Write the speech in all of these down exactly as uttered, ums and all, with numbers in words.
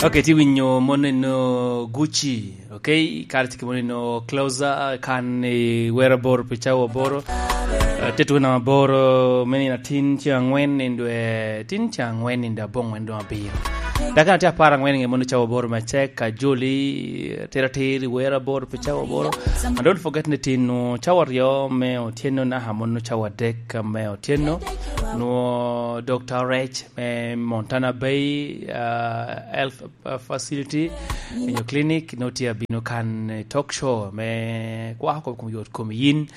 Ok, ti winyo mon eno Gucci, ok? Kare tye ki mon eno Closer, kan i wero aboro pi cawa aboro. Eh, te twe namba aboro, me nino atin ceng angwen nino dwe, tin ceng angwen nino dwe abongwen dwe abiro. Dakika tye apar angwen nge mon cawa aboro me cek, ka joli, tira atir i wero aboro pi cawa aboro. And don't forget ni tin nu cawa aryo me otyeno naka mon nu cawa adek me otyeno. Nu Doctor Rech me Montana Bay, uh, Health, uh, Facility, inyo clinic, no tye abino kan, eh, talk show me kwako kom yot kom yin,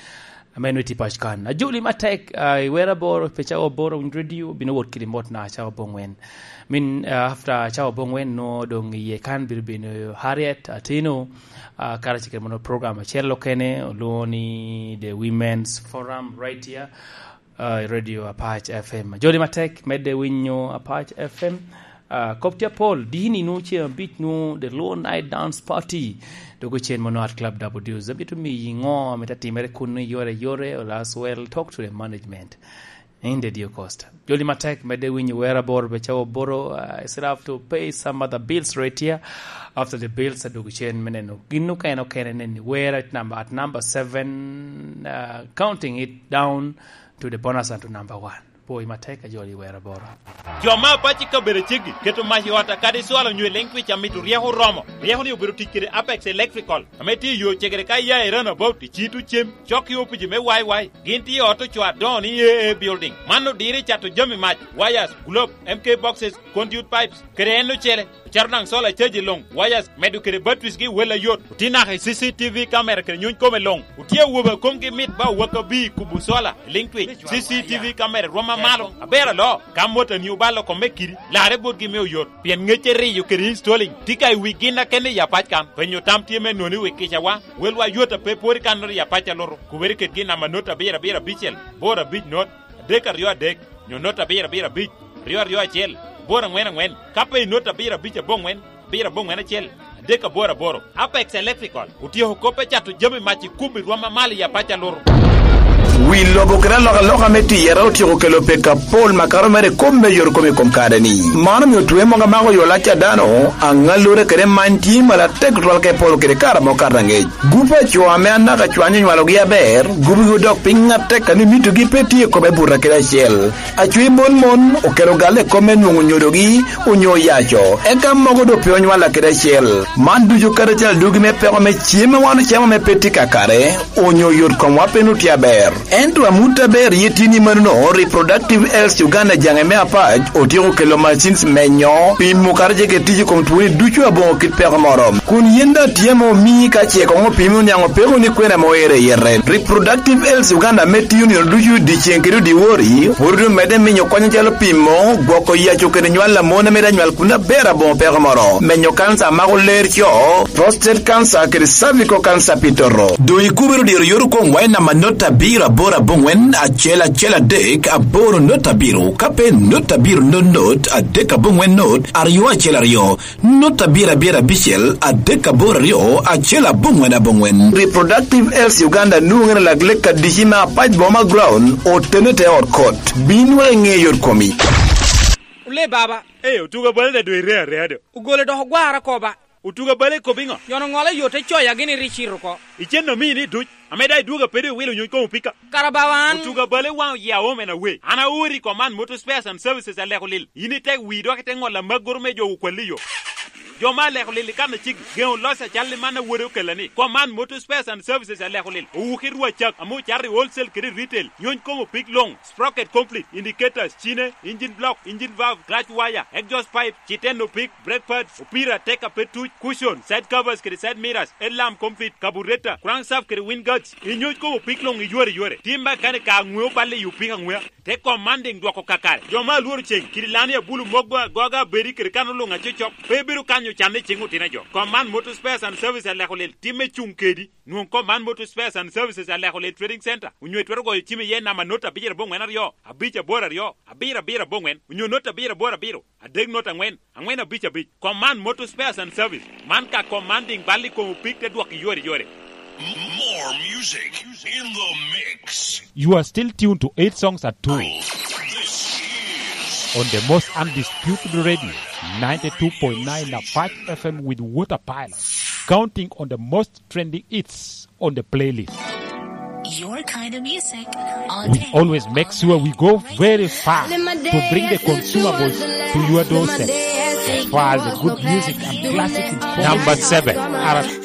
ame no tye pac kan. Ajoli matek, uh, i wera boro, pe cawa boro, winy radio, bino wot kidi mot na cawa bongwen. Min, uh, after cawa bongwen, no dong iye kan bino bino Harriet Atino, uh, kara cikere mono program acel okene, olwongo ni The Women's Forum right here. Ah, i Radio Apac F M. Jodi matek, medde winyo Apac F M. Ah, kop tye apol, dini nu ce abic nu, The Low Night Dance Party. Dok ocen mono at Club Double Deuce. Amito miyi ŋo, amito atimere kun i yore yore, or as well, talk to the management. In the due cost. Jodi matek, medde winyo wera bor, be cawo boro, ah, I still have to pay some other bills right here. After the bills, adwogo cen me neno gin okene okene neni wera at number, at number seven, ah, counting it down to the bonus and to number one. Pwoi matek a joli wero boro. Jo ma apac i kabedo ceggi keto mac i ot akadi cwalo nyo i leŋ twic amito ryeko oromo. Ryeko ni obedo tic kede Apex Electrical, ame tye i yo cegere ka iya i Runabout, i Cito Cem, cok i opici me Y Y. Gin tye i ot ocoo adoŋo ni A A Building. Man odiro i cato jami mac, wires, globe, M K boxes, conduit pipes, kede en ocele. Ocito daŋ solar charge i luŋ, wires, medo kede batteries gi wel ayot. Otye naka i C C T V camera kede nyuny kome luŋ. Otye awobe a komgi mit ba owaka bi i kubo solar i liŋ twic. C C T V camera rwom amalo. Aber alo, ka motani obalo kome kidi, larre botgi me oyot. Pien ŋecce riyo kede installing tye ka i wi gin akene i apac kan. Penyo tam tye me noni wi kicawa. Welwa yot a pe pwod i kannoro i apac alutu. Kubere kedgi namba not abiro abiro abicel, boro abic not, adek aryo adek, nyo not abiro abiro abic, aryo aryo acel, aboro aŋwen aŋwen, ka pe i not abiro abic aboŋwen, abiro aboŋwen acel, adek aboro aboro. Apex Electrical otyeko kop me cato jami mac i kum i rwom amal i apac alutu. Wi lobo kede alokaloka me tiyere otyeko kelo pek apol makato mere i kop me yot kom i kom kare-ni. Man omio twe mogo amako yo lac a dano, aŋallure kede many tye malatek tutwal ka iporo kede kare amo kato aŋec. Gup a co ame anaka cwany onywalogi aber, gubigi odok piny atek a ni mitogi pe tye i kome buta kede acel. Acwe mon mon okelo galle i kome nwoŋo nyodogi onyo oyaco, eka mogo doŋ pe onywalla kede acel. Man ducu kadi acel adugi me peko me cem a wan ocamo ame pe tye kakare, onyo yot komwa pe nwoŋo tye aber. Ento amut aber ye tye ni manono, Reproductive Health Uganda jaŋe me apac otyeko kelo machines menyo, pimo kadi ce kede tic i kom twoni ducu aboŋo kit peko moro. Kun yen daŋ tye ame omii ka ce koŋ opimi oniaŋ opeko ni kwene ame oero i yete. Reproductive Health Uganda ame tiyo nino ducu dyeceŋ kede odiwori, pwod omedde minyo kony acalo pimo, gwoko yaco kede nywal a mon ame daŋ nywal kun aber aboŋo peko moro, menyo kanca a mako ler co, prostate cancer kede cervical cancer pi toto. Doŋ ikubere odiro yot okomwa i namba not abiro aboro aboŋwen acel acel adek aboro not abiro, ka pe not abiro not not adek aboŋwen not aryo acel aryo, not abiro abiro abicel adek aboro aryo acel aboŋwen aboŋwen. Reproductive Health Uganda nwoŋere lak lek adici me apac boma ground otene te ot kot. Bin wek iŋe yot komi. Ole baba. Ee, otuga bale da dwe ire area do. Ogole dok ogwara koba. Otuga bale kop iŋo? Nyono ŋola yot te coya gini ri cito oko. Icen omini duc. Ame da idwoga pede iwilo nyuny komo pika. Kara bawa an. Otuga bale waŋ oya omen awe. An aori kom man motor spares and services aleko lil. In ite wi dok ite ŋola maggoro me jo okwalli yo. Jo ma aleko lil i kan acigi, geŋo loc acal i man awode okella ni. Kom man motor spares and services aleko lil. Owuki rwa cak, ame ocato i wholesale kede retail. Nyuny komo pik loŋ. Sprocket complete, indicators, cine, engine block, engine valve, clutch wire, exhaust pipe, citeno pik, brake pads, opira, teka pe tuc, cushion, side covers kede side mirrors, headlamp complete, carburetor, crankshaft kede wind guards. Inyuc komo pik loŋ iyore yore. Tim mechanic ka aŋweo balle i opik aŋwea. Te commanding dwoko kakare. Jo ma alworo ceng, kidi lani abulu moggo agoga abedi kede kano luŋ acocok. Pe ibedo kanyo canne i cing otino jo. Command Motor Spares and Service aleko lel timme cuŋ kedi. Nwoŋ kom man Motor Spares and Services aleko lel Trading Center, onyo itwero goyo cim iye namba not abicel aboŋwen aryo, abic aboro aryo, abiro abiro aboŋwen, onyo not abiro aboro abiro, adek not aŋwen, aŋwen abic abic. Kom man Motor Spares and Service, man ka commanding bal i kom opik te dwok iyore yore. More music in the mix. You are still tuned to eight songs at two. This is on the most undisputed radio, ninety-two point nine Apache F M with Water Pilot, counting on the most trending hits on the playlist. Your kind of music. All We day. Always make sure we go very far to bring the consumables to your doorstep. As far as the good music and classic is concerned. Number seven, R S